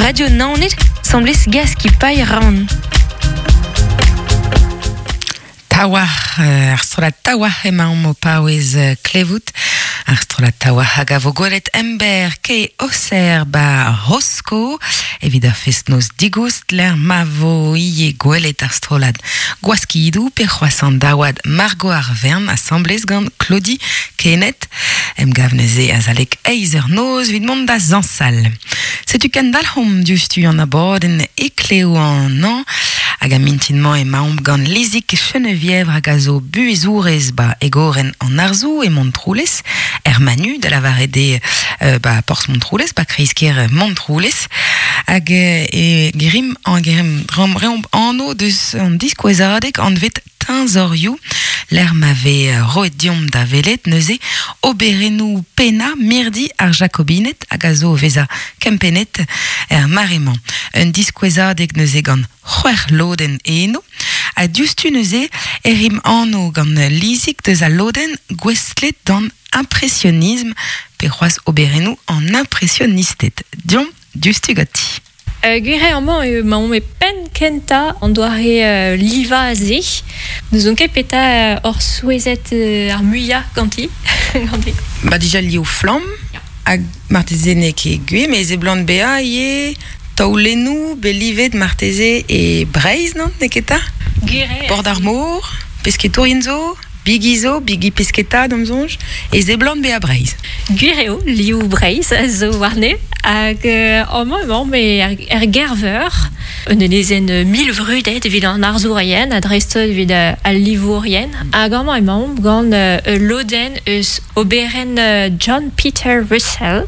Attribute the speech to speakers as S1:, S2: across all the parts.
S1: Radio Naoned 'sambles Gaskipailh Ran.
S2: Taouarc'h, ar strollad Taouarc'h emaomp o paouez klevout. Ar strollad Taouarc'h hag a vo gwelet emberr ke Auxerre ba Rosko evit ur fest-noz digoust lec'h ma vo ivez gwelet ar strollad Gwaskidoù pe c'hoazh an daouad Margot ar Wern asambles gant Claudie Kened. Emgav neuze azalek eizh eur noz evit mont da zañsal. Setu kendalc'homp diouzhtu an abadenn Heklev an hañv hag a mintin-mañ emaomp gant Lizig Chenevièvre hag a zo buhezourez ba egorenn an arzoù e Montroulez, er Manu, da lavaret eo ba porzh Montroulez, ba kreiz-kêr Montroulez. Hag e gerimp reomp anv deus an diskouezadeg anvet Teñzorioù, lec'h ma vez roet deomp da welet neuze oberennoù pennañ mirdi ar Jakobined hag a zo o vezañ kempennet er mare-mañ. Un diskouezadeg neuze gant c'hwec'h lodenn eno. Ha diouzhtu neuze e rimp anv gant Lizig deus al lodenn gouestlet d'an impresionism pe c'hoazh oberennoù an impresionisted. Deomp diouzhtu ganti.
S3: Gwir eo amañ emaomp e penn kentañ an doare livañ-se. N'ouzon ket petra oc'h souezhet ar muiañ ganti. ganti.
S2: Ba dija liv flamm hag marteze n'eo ket gwir met seblant bezañ ivez taolennoù bet livet marteze e Breizh, non? N'eo ket 'ta?
S3: Gwir eo.
S2: Bord ar mor, pesketourien zo? Bigi zo, bigi pesketa d'am soñj, e seblant bezañ Breizh.
S3: Gwir eo, liv Breizh a zo warne. Hag amañ emaomp er Gerveur, un enezenn mil vrudet evit an arzourien ha dreist-holl evit al livourien. Hag amañ emaomp gant ul lodenn eus oberenn John Peter Russell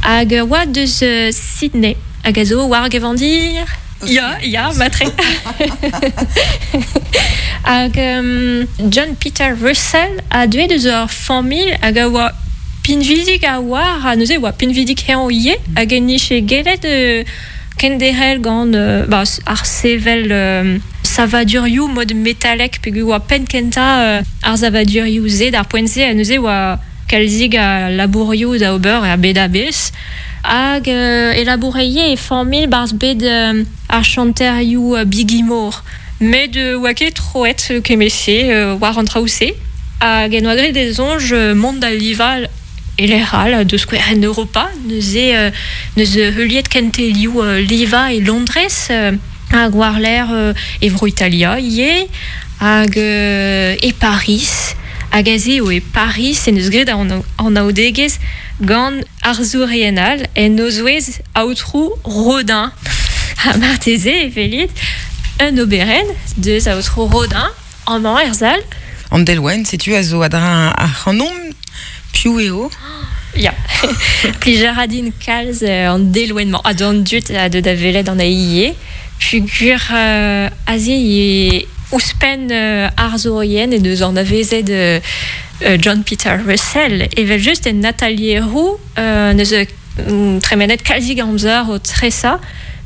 S3: hag a oa deus Sydney hag a zo war gevandir. Ya, ya, matre. Hag John Peter Russell a deuet eus ur familh hag a oa pinvidik a-walc'h, ha neuze e oa pinvidik eñ ivez, hag en nije gellet kenderc'hel gant ba, ar sevel savadurioù mod metalek peogwir oa penn-kentañ ar savadurioù-se d'ar poent-se, ha neuze e oa kalzik a labourioù da ober er bed a-bezh. Hag e laboure ivez e familh 'barzh bed ar chanterioù bigi-mor. Met oa ket troet kement-se war an traoù-se. Hag en oa graet e soñj mont da livañ e lec'h all, da skouer en Europa. Neuze 'neus heuliet kentelioù livañ e Londrez hag war-lerc'h e Vro-Italia ivez hag e Pariz. Hag aze eo e Pariz en deus graet an anaoudegezh gant arzourien all, en o zouez aotrou Rodin. Ha marteze e welit un oberenn deus aotrou Rodin amañ er sal.
S2: An delwenn, setu a zo a-dreñv ac'hanomp. Piv eo?
S3: Ya, plij a ra din kalz an delwenn-mañ ha d'an dud a deu da welet anezhi ivez. Peogwir aze eo ouzhpenn arzourien en deus anavezet John Peter Russell, evel-just en atalieroù n'eus tremenet kalzik amzer o tresañ,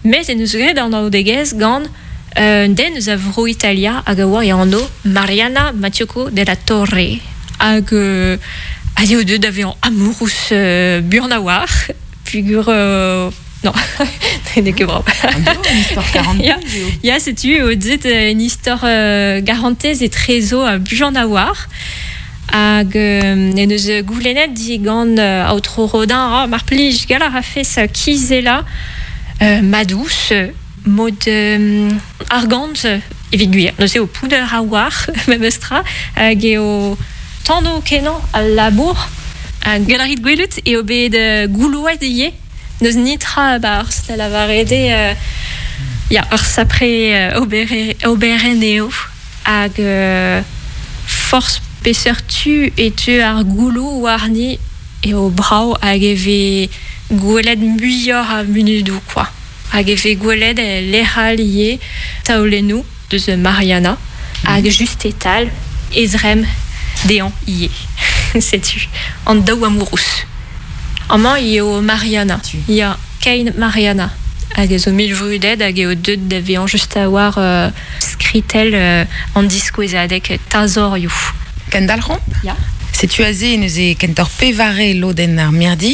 S3: met en deus graet anaoudegezh gant un den eus a Vro-Italia hag a oa e anv Mariana Mattiocco della Torre hag aze eo deuet da vezañ amourous buan a-walc'h peogwir Non, n'eo ket brav.
S2: Un istor karantez
S3: eo. Ya, setu eo deuet un istor garantez etrezo buan a-walc'h. Hag en deus goulennet digant aotrou Rodin, ah, mar plij, gall a rafes kizellañ ma dous mod argant evit gwir. Neuze eo pounner a-walc'h memes tra hag eo tano-kenañ al labour. Hag gall a rit gwelout eo bet goulouet ivez. N'eus netra a-barzh da lavaret eo ya, ur sapre oberenn eo hag forzh peseurt tu e teu ar gouloù warni eo brav hag e vez gwelet muioc'h a munudoù kwa. Hag e vez gwelet e lec'h all ivez taolennoù deus Mariana hag just e-tal e zremm dezhañ ivez. Setu an daou amourous. Amañ eo Mariana. Ya, kein Mariana. Hag a zo mil vrudet hag eo deuet da vezañ just a-walc'h skritell an diskouezadeg teñzorioù.
S2: Kendalc'homp?
S3: Ya.
S2: Setu aze neuze kentoc'h pevare lodenn ar mirdi,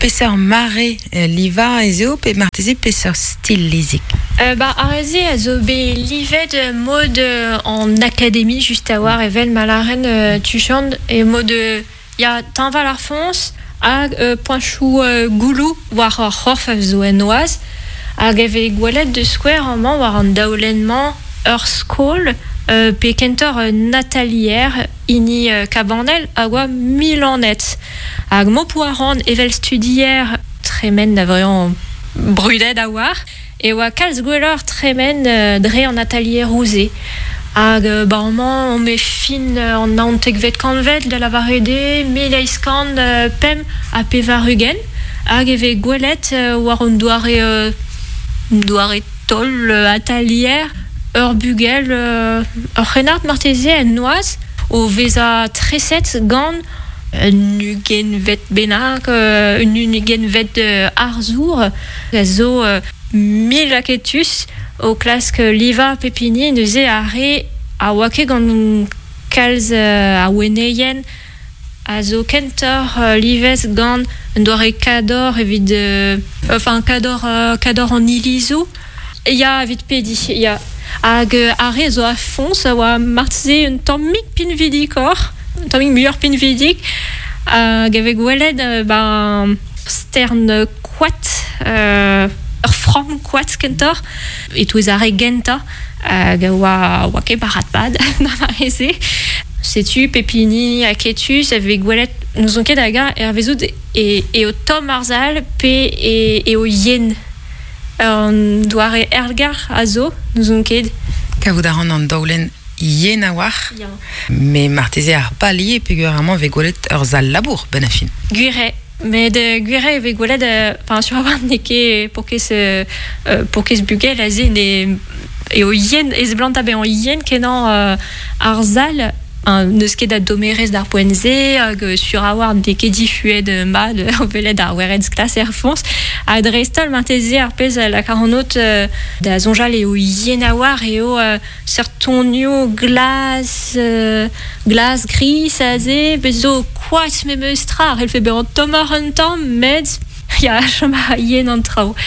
S2: peseurt mare livañ ez eo pe marteze peseurt stil Lizik?
S3: Ba ar re-se a zo bet livet mod an akademi just a-walc'h evel ma lâren tuchant e mod ya teñval ar foñs hag poañchoù gouloù war ar c'horf a zo en noazh hag e vez gwelet da skouer amañ war an daolenn-mañ ur skol pe kentoc'h un atalier hini Kabanel a oa Milanet hag m'ho poa c'hoant evel studier tremen da vezañ brudet a-walc'h e oa kalz gwelloc'h tremen dre an atalieroù-se hag ba amañ omp e fin an naontekvet kantved da lavaret eo 1885 hag e vez gwelet war un doare doare taol atalier ur bugel ur c'hrennard marteze en noazh o vezañ treset gant un ugentvet bennak, un ugentvet arzour a zo mil aketus o klask livañ pep hini neuze ar re a oa ket gant kalz a wenneien a zo kentoc'h livet gant un doare kador evit enfin kador kador an ilizoù ya evit pediñ ya hag ar re a zo a-foñs a oa marteze un tammig pinvidikoc'h un tammig muioc'h pinvidik hag e vez gwelet ben stern koad ur framm koad kentoc'h e-touez ar re gentañ hag a oa oa ket barrad-pad d'ar mare-se. Setu pep hini aketus a vez gwelet n'ouzon ket hag-eñ hervezout eo tomm ar sal pe eo yen. Un doare aergelc'h a zo, n'ouzon ket.
S2: Kavout a ran an daolenn yen a-walc'h. Mais marteze ar pal ivez peogwir amañ e vez gwelet ur sal labour benn ar fin.
S3: Gwir eo. Met gwir eo e vez gwelet enfin sur a-walc'h n'eo ket paourkaezh paourkaezh bugel aze ne eo yen e seblant bezañ yen-kenañ ar sal. N'eus ket a dommerezh d'ar poent-se hag sur a-walc'h n'eo ket difuet mat o welet ar werenn sklas er foñs. Ha dreist-holl marteze ar pezh a lak ac'hanout da soñjal eo yen a-walc'h eo seurt tonioù glas, glas gris aze, bez zo koad memes tra a c'hellfe bezañ tommoc'h un tamm met ya chom a ra yen an traoù.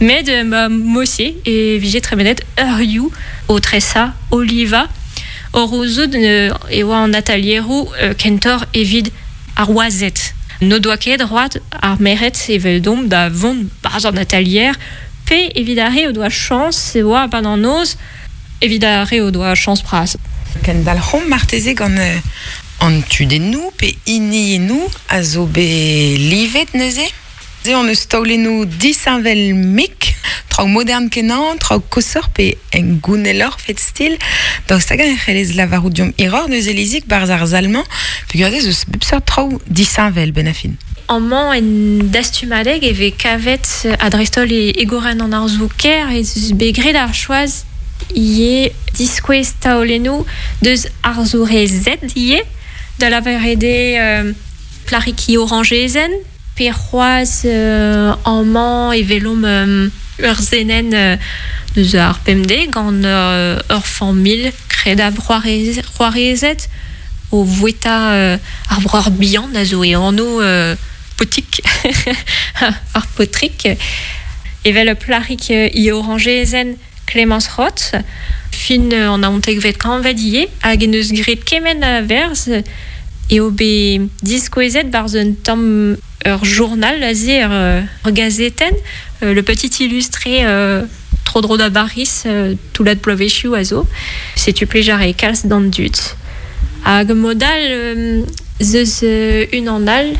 S3: Met ma mod-se e vije tremenet eurioù o tresañ, o livañ. O c'houzout e oa an atalieroù kentoc'h evit ar wazed. N'o doa ket droad ar merc'hed eveldomp da vont 'barzh an atalier pe evit ar re o doa chañs e oa e-pad an noz evit ar re o doa chañs bras.
S2: Kendalc'homp marteze gant an tudennoù pe hiniennoù a zo bet livet neuze. Se hon eus taolennoù disheñvel-mik, traoù modern-kenañ, traoù koshoc'h pe hengouneloc'h fet stil. Daoust hag-eñ e c'hellez lavarout deomp hiroc'h neuze Lizig 'barzh ar sal-mañ peogwir ez eus bep seurt traoù disheñvel 'benn ar fin.
S3: Amañ en dastumadeg e vez kavet ha dreist-holl e gorenn an arzoù-kaer ez eus bet graet ar choaz ivez diskouez taolennoù deus arzourezed ivez, da lavaret eo plac'hig orañjezenn. Pe c'hoazh amañ e welomp ur senenn deus ar pemdez gant ur familh kredabl c'hoarezed o voueta ar breur bihan a zo e anv Potig, ar paotrig. Evel ur plac'hig he orañjezenn Clémence Roth, fin an naontekvet kantved ivez, hag en deus graet kement a verzh eo bet diskouezet 'barzh un tamm ur journal aze, ur gazetenn, Le Petit Illustré tro-dro da Bariz, toullad bloavezhioù a zo. Setu plij a rae kalz d'an dud. Hag mod all 'z eus unan all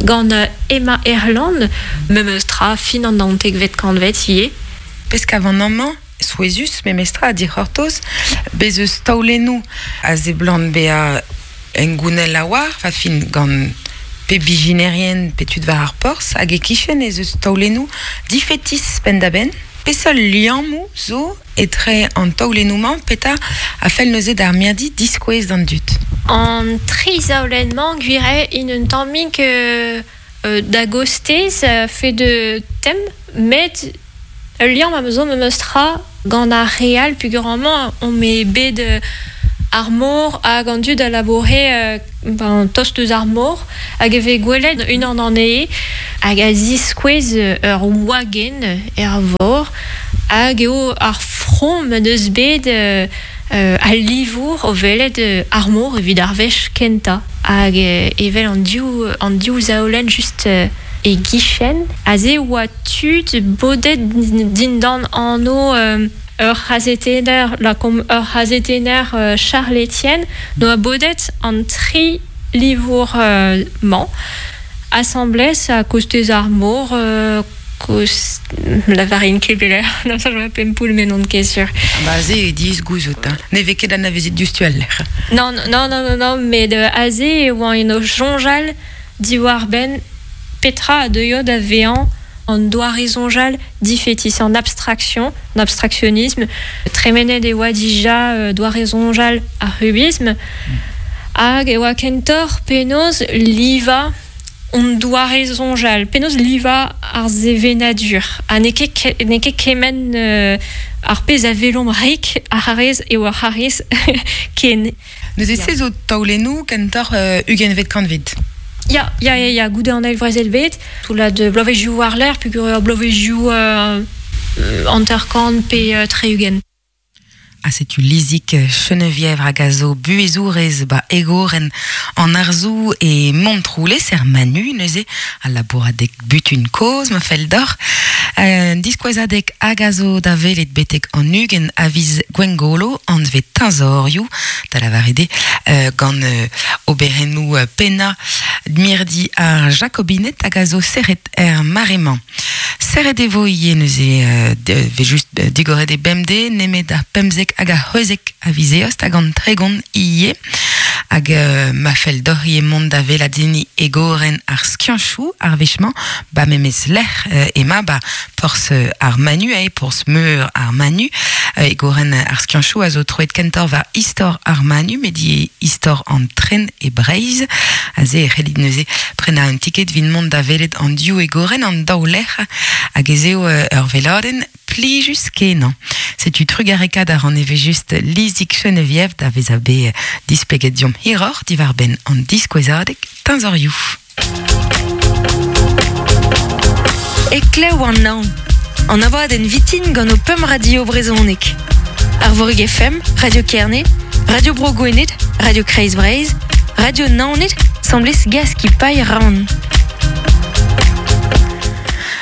S3: gant Emma Erland, memes tra, fin an naontekvet kantved ivez.
S2: Pezh kavan amañ, souezhus memestra ha dic'hortoz, bez eus taolennoù a seblant bezañ hengounel a-walc'h, va fin gant pe bijinerien pe tud war ar porzh, hag e-kichen ez eus taolennoù difetis penn-da-benn. Peseurt liammoù zo etre an taolennoù-mañ? Petra a fell neuze d'ar mirdi diskouez d'an dud?
S3: An tri zaolenn-mañ, gwir eo, int un tammig da gostez a-fed tem, met Ul liamm am eus memes tra gant ar re all peogwir amañ omp bet Ar mor hag an dud a laboure ben, tost eus ar mor hag e vez gwelet unan anezhe hag a ziskouez ur wagenn er vor hag eo ar from en deus bet al livour o welet ar mor evit ar wech kentañ hag evel an div an div zaolenn just e gichen aze e oa tud bodet dindan anv ur c'hazetenner lakaomp ur c'hazetenner Charles Etienne 'noa bodet an tri livour-mañ asambles a-kostez ar mor koz lavarin ket pelec'h n'am soñj Pempoull met n'on ket sur.
S2: Ba se eo diaes gouzout hein. Ne vez ket anavezet diouzhtu al lec'h.
S3: Nann nann nann nann met aze e oan o soñjal diwar-benn petra a deuio da vezañ an doare-soñjal difetis, an abstraction, an abstractionisme. Tremenet e oa dija doare-soñjal ar c'hubism hag e oa kentoc'h penaos livañ hon doare-soñjal, penaos livañ ar sevenadur ha n'eo ket n'eo ket kement ar pezh a welomp rik ar c'harrez eo ar c'harrez ken.
S2: Neuze se zo taolennoù kentoc'h ugentvet kantved.
S3: Ya, ya, ya, ya, goude an Eil Brezel-bed, toullad bloavezhioù war-lerc'h peogwir ur bloavezhioù 50 pe 60.
S2: Ha setu Lizig Chenevièvre hag a zo buhezourez ba egorenn an arzoù e Montroulez er Manu neuze, al labouradeg butun kozh ma fell deoc'h. Un diskouezadeg hag a zo da welet betek an 20 a viz Gwengolo, anvet Teñzorioù, da lavaret eo gant oberennoù pennañ mirdi ar Jakobined hag a zo serret er mare-mañ. Serret e vo ivez neuze vez just digoret e bemdez nemet ar 15 hag ar 16 a viz Eost hag an 30 ivez. Hag ma fell deoc'h ivez mont da weladenniñ egorenn ar skianchoù ar wech-mañ, ba memes lec'h emañ ba porzh ar Manu, eo porzh meur ar Manu. Egorenn ar skianchoù a zo troet kentoc'h war istor ar Manu, met ivez istor an tren e Breizh. Aze e c'hellit neuze prenañ un tiked evit mont da welet an div egorenn, an daou lec'h, hag ez eo ur weladenn plijus-kenañ. Setu trugarekaat a ran evel-just Lizig Cheneviève da vezañ bet displeget deomp hiroc'h diwar-benn an diskouezadeg teñzorioù.
S1: Heklev an hañv, an abadenn vitin gant ho pemp radio brezhonek. Arvorig FM, Radio Kerne, Radio Bro Gwened, Radio Kreiz Breizh, Radio Naoned, 'semblez Gaskipailh Rann.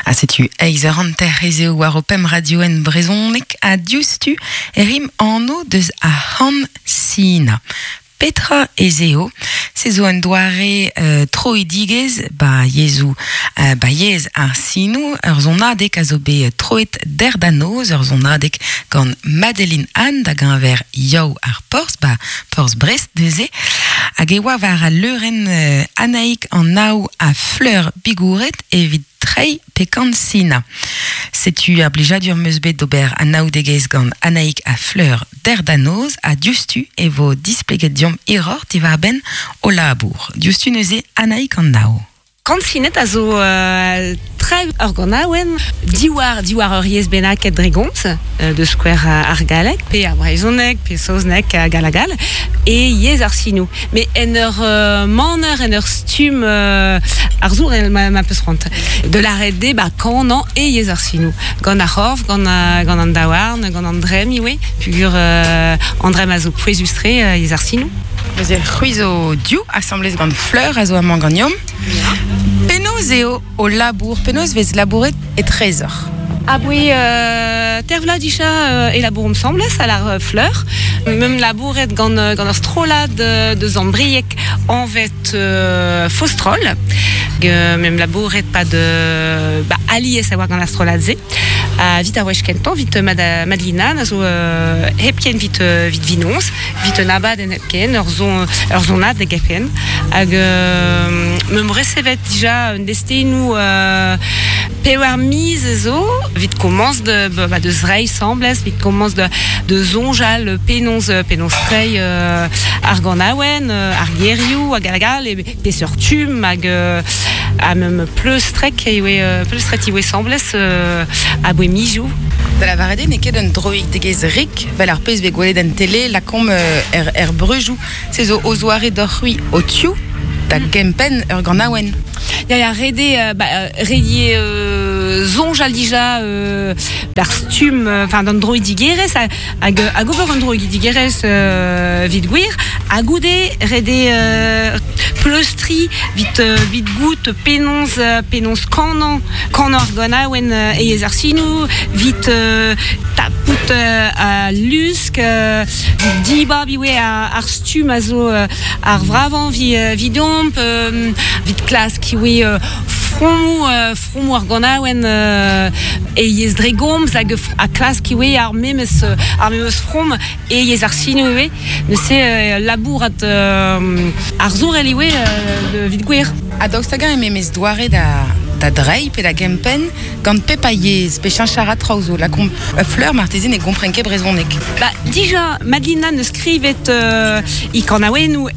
S2: Ha setu eizh eur hanter ez eo war ho pemp radioenn brezhonek ha diouzhtu e rimp anv deus ar c'han Sina. Petra ez eo? Se zo un doare troidigezh ba yezhoù ba yezh ar sinoù. Ur sonadeg a zo bet troet dec'h da noz, ur sonadeg gant Madeline Anne da geñver Yaou ar Porzh, ba porzh Brest neuze. Hag e oa war al leurenn Anaig an Ao ha Fleur Bigouret evit treiñ pekan Sina. Setu ar blijadur 'm eus bet d'ober anaoudegezh gant Anaig ha Fleur dec'h da noz ha diouzhtu e vo displeget deomp hiroc'h diwar-benn o labour. Diouzhtu neuze Anaig an Ao.
S4: Kansinet a zo tra ur ganaouenn diwar diwar ur yezh bennaket dre gomz, da skouer ar galleg pe ar brezhoneg pe saozneg hag all hag all, e yezh ar sinoù. Met en ur maner, en ur stumm arzourel ma peus c'hoant. Da lâret eo ba kanañ e yezh ar sinoù, gant ar c'horf, gant gant an daouarn, gant an dremm ivez, peogwir an dremm a zo pouezus-tre yezh ar sinoù.
S2: Neuze c'hwi zo div asambles gant Fleur a zo amañ ganeomp. Penaos eo ho labour? Penaos vez labouret etrezoc'h?
S4: Aboe teir vloaz dija e labouromp asambles à la Fleur. Meump labouret gant gant ur strollad deus Ambrieg anvet Fostroll. Meump labouret 'pad ba alies a oa gant ar strollad-se. Ha 'vit ar wech kentañ, 'vit Madelina a zo hepken 'vit 'vit Vinoñs. Vit un abadenn hepken, ur son, ur sonadeg hepken. Hag meump resevet dija un destennoù pevar miz zo evit komañs de, ba, de zreiñ 'sambles, evit komañs de, de soñjal penaos, penaos treiñ ar ganaouenn, ar gerioù hag hag all, e peseurt stumm hag ha meump pleustrek ivez, pleustret ivez 'sambles aboe mizioù.
S2: Da lavaret eo n'eo ket un droidigezh rik, 'vel ar pezh 'vez gwelet en tele, lakaomp er, er breujoù. Se zo o zoare deoc'h-c'hwi ho-tiv da gempenn ur ganaouenn.
S4: Ya, ya, ret eo, ba, ret eo soñjal dija d'ar stumm, enfin d'an droidigerezh hag, hag ober un droidigerezh evit gwir. Ha goude, ret eo pleustriñ evit, evit goût penaos, penaos kanañ, kanañ ar ganaouenn e yezh ar sinoù, evit tapout al lusk, evit dibab ivez ar stumm a zo ar vravañ evidomp, evit klask ivez fromoù, fromoù ar ganaouenn e yezh dre gomz hag ha klask ivez ar memes ar memes from e yezh ar sinoù ivez. Neuze labourat arzourel ivez evit gwir.
S2: Ha daoust hag-eñ e memes doare da da dreiñ pe da gempenn gant pep a yezh pe cheñch a ra traoù zo? Lakaomp ur fleur marteze ne gompren ket brezhoneg.
S4: Ba, dija, Madelina 'neus skrivet e kanaouennoù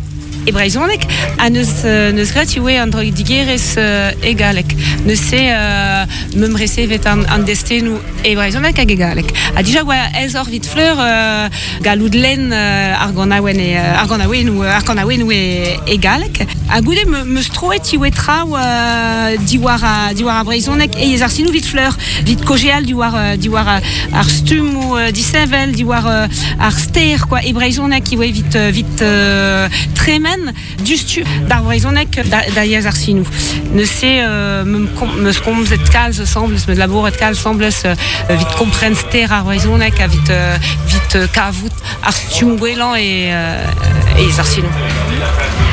S4: e brezhoneg ha 'neus 'neus graet ivez an droidigerezh e galleg. Neuze 'meump resevet an, an destennoù e brezhoneg hag e galleg. Ha dija oa aesoc'h evit Fleur gallout lenn ar ganaouenn e, ar ganaouennoù, ar kanaouennoù e, e galleg. Ha goude 'meus troet ivez traoù diwar diwar ar brezhoneg e yezh ar sinoù evit Fleur, evit kaozeal diwar diwar ar stummoù disheñvel, diwar ar ster quoi e brezhoneg ivez evit evit tremen diouzhtu d'ar brezhoneg da yezh ar sinoù. Neuze 'meus komzet kalz asambles, 'meus labouret kalz asambles evit kompren ster ar brezhoneg, evit evit kavout ar stumm gwellañ e yezh ar sinoù.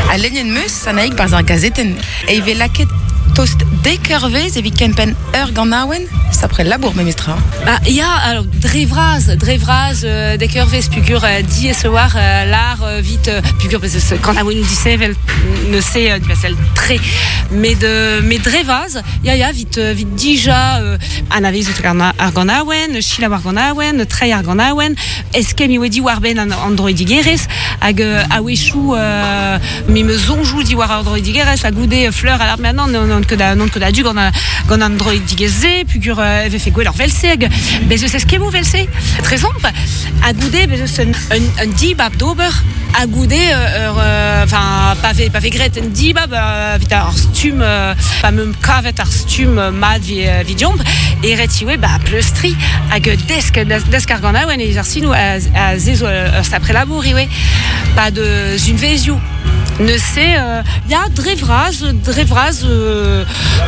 S2: Ha lennet 'meus, Sanaig, barzh ar gazetenn, e vez lakaet tost dek eurvezh evit kempenn ur ganaouenn, sapre labour memestra.
S4: Bah, ya, alors, dre vras, dre vras, dek eurvezh pugur diaes e oar lar vit pugur bez eus kanaouennoù disheñvel neuze divasel tre met met dre vras, ya ya, vit vit dija anavezout ar ganaouenn, selaou ar ganaouenn, treiñ ar ganaouenn, eskemm eo diwar-benn an, an droidigerezh hag a-wechoù me 'meus soñjoù diwar ar droidigerezh ha goude Fleur a lâr maintenant n'on ket n'on ket a-du gant gant an droidigezh-se pugur e vefe gwelloc'h 'vel-se hag bez eus eskemmoù 'vel-se trezomp ha goude bez eus un, un, un dibab d'ober ha goude ur enfin pa vez pa vez graet un dibab evit ar stumm pa 'meump kavet ar stumm mat evit deomp e ret ivez ba pleustriñ hag desk desk ar ganaouenn evit ar sinoù a se zo ur sapre labour ivez pad unvezioù neuze ya dre vras dre vras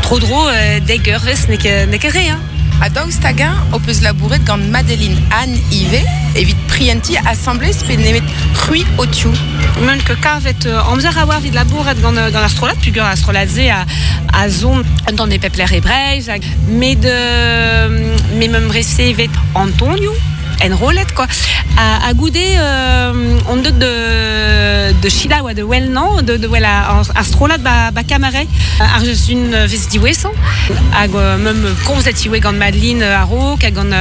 S4: tro-dro dek eurvezh n'eo ket n'eo ket re hein.
S2: Ha daoust hag-eñ ho peus labouret gant Madeline Anne ivez evit prientiñ asambles pe nemet c'hwi ho-tiv?
S4: Meump ket kavet amzer a-walc'h evit labourat gant gant ar strollad peogwir ar strollad-se a a son un tamm e pep lec'h e Breizh hag met me 'meump resevet Antonioù enrollet quoi ha goude on deut de de selaou ha de wel-nañ de de wel ar strollad ba ba Camaret ar un vez diwezhañ hag meump komzet ivez gant Madeline a-raok ha gant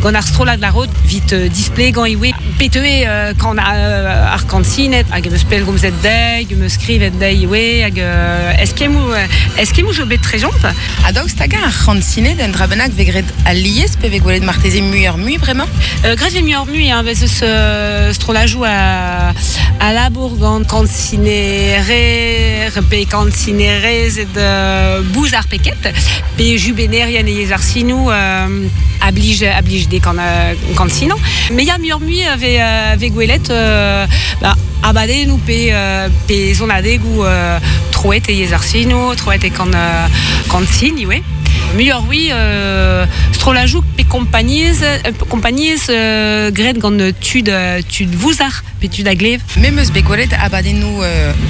S4: gant ar strollad a-raok 'vit displegañ ivez pet eo kan ar kantined hag em eus pellgomzet dezhi em eus skrivet dezhi ivez hag eskemmoù eskemmoù zo bet trezomp.
S2: Ha daoust hag-eñ ar c'hantined un dra bennak 'vez graet alies pe 'vez gwelet marteze muioc'h-mui bremañ?
S4: Graet 'vez muioc'h-mui hein, bez eus strollajoù a labour gant kantinerer pe kantinerezed bouzar pe ket pe jubennerien e yezh ar sinoù a blij a blij dezhe kantinañ. Met ya muioc'h-mui a vez vez gwelet ba abadennoù pe pe sonadegoù troet e yezh ar sinoù, troet e kan kantin ivez. Muioc'h-mui strollajoù pe kompagnezh kompagnezh graet gant tud tud vouzar pe tud a glev.
S2: Me 'm eus bet gwelet abadennoù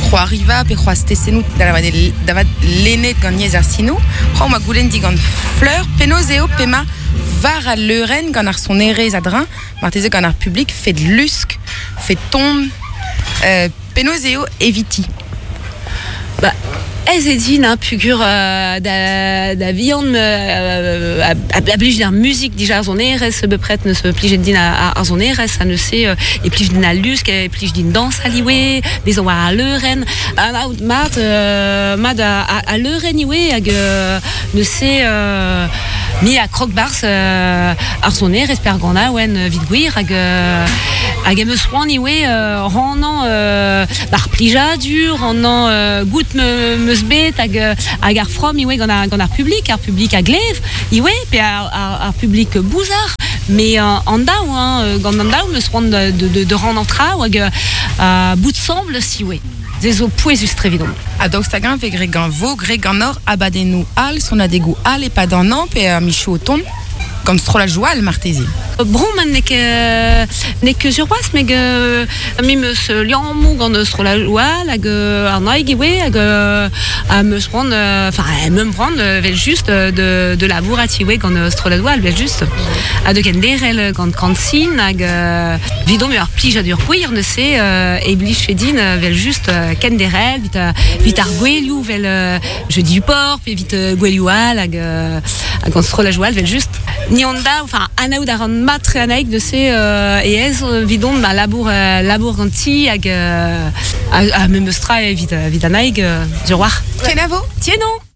S2: c'hoariva pe c'hoazh testennoù da vat lennet gant yezh ar sinoù. C'hoant 'oa goulenn digant Fleur penaos eo p'emañ war al leurenn gant ar sonerezh a-dreñv, marteze gant ar publik, fed lusk, fed ton, penaos eo eviti?
S4: Ba, aes eo din hein, peogwir da, da vihan a, a blij din ar muzik dija ar sonerezh bepred 'neus plijet din ar sonerezh ha neuze e plij din al lusk, e plij din dañsal ivez, bezañ war al leurenn. Anaout mat mat al leurenn ivez hag neuze Mi a krog 'barzh ar sonerezh pe ar ganaouenn evit gwir hag hag em eus c'hoant ivez rannañ ar plijadur, rannañ goût 'm eus bet hag hag ar from ivez gant ar gant ar publik, ar publik a glev ivez pe ar ar publik bouzar met an daou hein, gant an daou 'm eus c'hoant de rannañ traoù hag bout 'sambles ivez. Se zo pouezus-tre evidomp.
S2: Ha daoust hag-eñ 'vez graet gant 'vo graet ganeoc'h abadennoù all, sonadegoù all e-pad an hañv pe ar michoù o tont? Gant strollajoù all marteze?
S4: Bremañ n'eo ket n'eo ket sur c'hoazh met me 'm eus liammoù gant strollajoù all hag an naig ivez hag am eus c'hoant enfin meump c'hoant evel-just de labourat ivez gant strolladoù all evel-just ha de kenderc'hel gant Kansin hag 'Vidon eo ar plijadur gwir neuze e blijfe din evel-just kenderc'hel 'vit 'vit ar gouelioù 'vel Jeudi du Port pe 'vit gouelioù all hag hag an strollajoù all evel-just. Ni hon daou, enfin anaout a ran mat-tre Anaig neuze e aes 'vidon ma labour labour ganti hag ha memes tra evit evit Anaig sur 'walc'h.
S2: Kenavo!
S4: Tiens non!